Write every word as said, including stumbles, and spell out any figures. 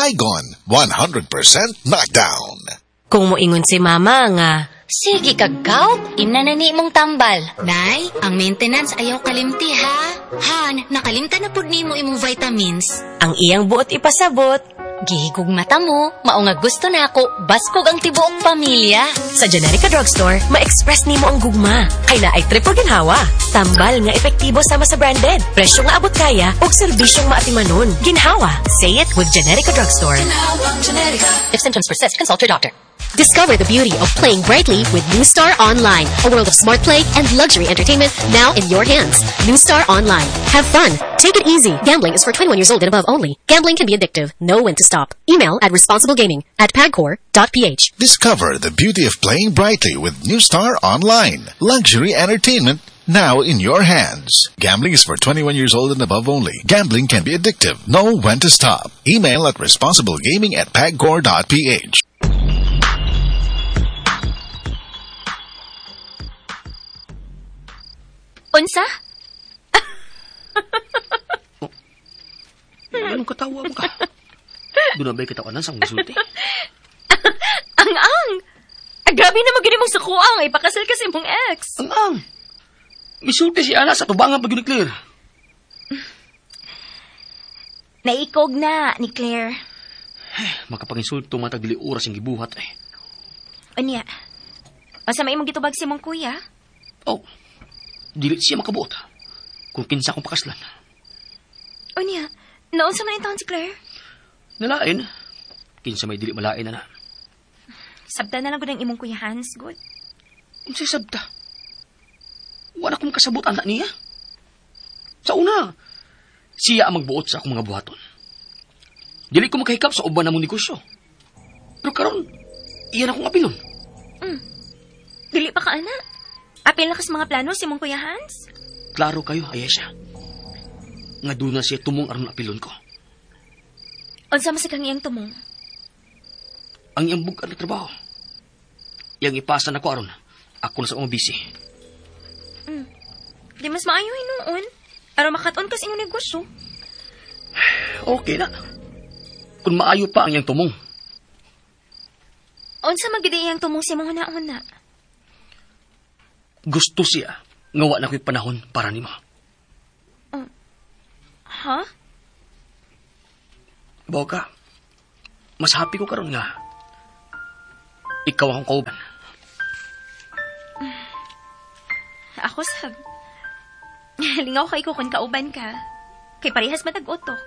Baygon, one hundred percent knockdown. Kung moingon si mama nga, sige kag gout, imna na ni imong tambal. Nay, ang maintenance ayaw kalimti ha. Han, nakalimta na pud nimo imong vitamins. Ang iyang buot ipasabot. Gihigog mata mo, mao nga gusto na ako, baskog ang tibuok pamilya. Sa Generika Drugstore, ma-express nimo ang gugma. Kay naay triple ginhawa. Tambal nga epektibo sama sa branded. Presyo nga abot kaya ug serbisyong maatimanon. Ginhawa. Say it with Generika Drugstore. Ginhawa, Generika. If symptoms persist, consult your doctor. Discover the beauty of playing brightly with New Star Online, a world of smart play and luxury entertainment now in your hands. New Star Online. Have fun. Take it easy. Gambling is for twenty-one years old and above only. Gambling can be addictive. Know when to stop. Email at responsiblegaming at pagcor dot p h. Discover the beauty of playing brightly with New Star Online. Luxury entertainment now in your hands. Gambling is for twenty-one years old and above only. Gambling can be addictive. Know when to stop. Email at responsiblegaming at pagcor dot p h. Unsa? Oh. Anong katawa mo ka? Doon na ba'y katawanan sa akong gisulti? Ang-ang! Ah, grabe na magiging mong sukuang. Ipakasal kasi mong ex. Ang-ang! Misulti si Ana sa tubangan pag yun ni Claire. Naikog na ni Claire. Ay, makapanginsulto matag dili oras ang gibuhat eh. Unya, masama imong gitubag si mong kuya? Oh, dili siya makabuot. Kung kinsa akong pakaslan. Unya, naunsa man intaon si Claire? Nalain. Kinsa may dili malain na na. Sabta na lang gud ang imong kuya Hans, good. Unsay sabta? Wala akong kasabot anak niya. Sa una, siya ang magbuot sa akong mga buhaton. Dili ko makahikap sa uban namong negosyo. Pero karon, iyan akong apilon. Mm. Dili pa ka, anak. Apil na kas mga plano si mong Kuya Hans? Klaro kayo, Ayesha. Nga doon na siya tumong aron apilon ko. Unsa man sa kang iyang tumong? Ang iyang bug-at na trabaho. Iyang ipasa na ko aron. Ako na sa akong busy. Mm. Di mas maayo hinuon. Aron makat-on kas inyong negosyo. Okay na. Kung maayo pa ang iyang tumong. Unsa man gid iyang tumong sa imong huna-huna? Gusto siya nga wa na ko'y panahon para nimo. Uh, ha? Boka, mas happy ko karon nga ikaw akong kauban. Ako sab. Lingaw kay ko kung kauban ka. Kay parehas matag-utok.